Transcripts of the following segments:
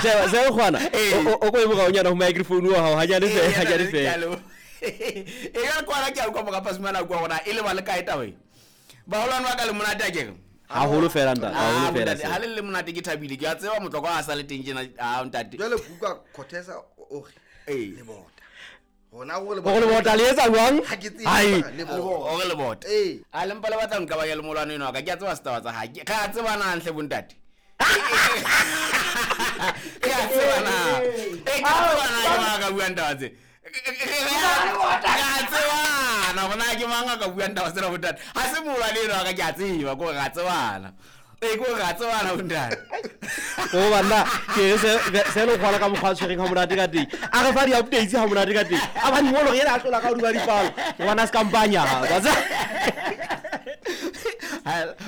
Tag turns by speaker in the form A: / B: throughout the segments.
A: Sheba se kgwana. O ko e moraonyana ho microphone wa hao hanyane fela, hanyane fela.
B: E ka kwana ke a utlwa moka Pasumana kwa gona e le ba le kae taba e? Baholwane ba ka le monate a kere.
A: Haholo fela ntate,
B: Ah,
A: haholo fela.
B: bontate, ha le le monate ke thabile. Ke a tseba motlokwa a sa le teng tjena. Ah, ntate.
C: Jwale ke utlwa Corteza o re
B: Ee.
C: lebota. Hona gore
A: Gore lebota le etsa jwang?
C: Ha ke tsebe
A: Hai.
C: mara lebota.
B: O re lebota.
C: Ee.
B: A le mpa le batla nka ba ya le molwane eno wa ka. Ke a tseba setaba tsa hae. Re a tsebana hantle bontate. Re a tsebana. E ke a tsebana ke mang a ka buang taba tse. Re a tsebana gore na ke mang a ka buang taba tsena bontate. Ha se molwane eno wa ka ke a tseba ko re a tsebana. Ee, ko re a tsebana bontate.
A: O banna, ke re se se le kgwala ka mokgwa a tshwereng ha monate ka teng. A re fa di-updates ha monate ka teng. A ba dingolo re yena a tlola ka hodima dipalo. Ngwana se ka mpanya. Wa tseba?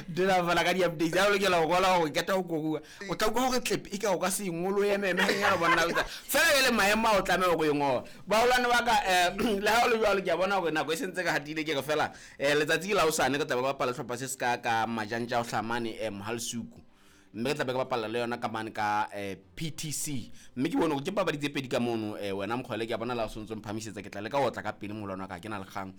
B: Dula fela ka di-updates a o lokela go gola gore keta go koruwa o tla utlwa gore tlepe e ka o ka se ingolo ememe ganyana bonna o tsa- fela ele maemo a o tlameha go e ngola bagolwane ba ka um le ga o le jalo ke a bona gore nako e sentse ka gatile ke re fela um letsatsi ke la osane re tlabe re bapala setlhopha se se ka ka majantša o hlamane um mogalsuku mme re tlabe re bapala le yona ka mane ka PTC mme ke bone gore ke papadi tse pedi ka mono wena mokgwele ke a bona la o sentse o mphamisetsa ke tla leka go otla ka pele mogolwane wa ka ke na le kgang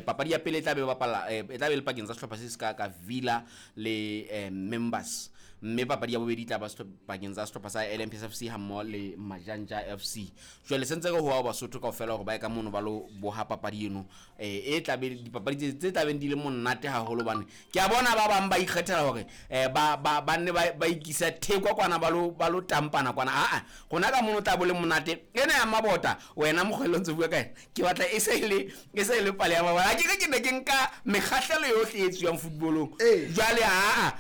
B: papadi ya pele e tla be e bapala e tla be e le pakeng tsa sehlopha se se ka ka Villa le Members mme papadi ya bobedi e tla ba pakeng tsa sehlopha sa LMPS FC ha mmoho le Majanja FC. Jwale sentse re hoa Basotho kaofela hore ba ye ka mono ba lo boha papadi eno e tla be dipapadi tse tla beng di le monate haholo hobane ke a bona ba bang ba ikgethela hore ba nne ba ikisa thekwa kwana ba lo tampana kwana. Aa rona ka mono tla bo le monate ena ya mabota wena mokgwele o ntse bua ka ena ke batla e se le e se le pale ya mabota. Ha ke re ke ne ke nka mekgahlelo yohle e etsuwang footballong. Jwale aa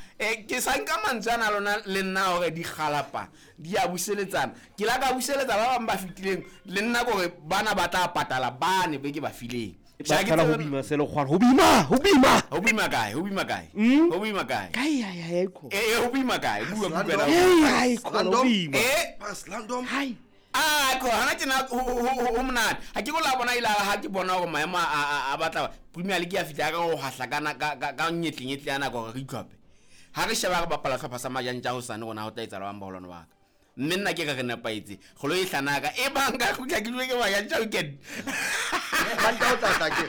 B: ke sa nka mantswe ana a lona le nna hore dikgalapa di a buseletsana. Ke la ka buseletsa ba bang ba fetileng le nna kore bana ba tla patala bane be ke ba fileng.
A: Ba qala ho bima se le kgwana. Ho bima, ho bima.
B: Ho bima kae? Ho bima kae? Ho bima kae?
A: Kae ai ai ai ko.
B: Eh ho bima kae? Bua bua
C: Slandom.
B: na.
A: Hey ai ko ho bima.
C: Paslandom.
A: Hai.
B: Ah, ko hana tjena ho monate. Ha ke ko la bona ile ha ke bona hore maemo a batla Premier League ya fihla ka ho hahla ka ka nyetlenyetli ya nako hore re itlhophe. Ha re sheba re bapala hlopha sa Majantja hosane rona ho tla etsahala bang baholwane ba ka. Mme nna ke re re nepahetse. Kgolo e hlanaka e bang ka kgutla ke dule ke Majantja weekend.
C: Manta o tla tla ke.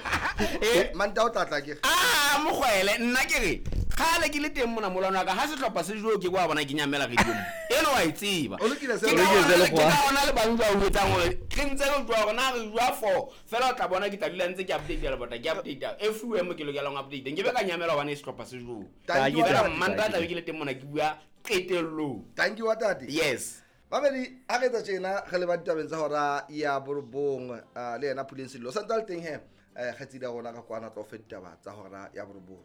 C: Manta o tla tla ke.
B: Ah, mokgwele nna ke re kgale ke le teng mona molwana wa ka ha sehlopha se joe ke kwa bona ke nyamela radio. Eno wa e tseba.
C: O lokile se
B: Ke
A: O lokile se le
B: ka
A: kgwa.
B: ona le bang ba o etsang hore re ntse re jwa hore na re jwa four fela o tla bona ke tla dula ntse ke update lebota ke update everywhere mo ke lokelang ho update. Nke be ka nyamela hobane sehlopha se joe.
C: Thank you,
B: Fela
C: Ntate.
B: Manta tla be ke le teng mona ke bua qetellong.
C: Thank you, Ntate.
B: Yes.
C: Babedi a re etsa tjena re leba ditabeng tsa hora ya borobong le yena Puleng Sello. Santse a le teng he kgaitsedi ya rona ka kwana tla o fe ditaba tsa hora ya borobong.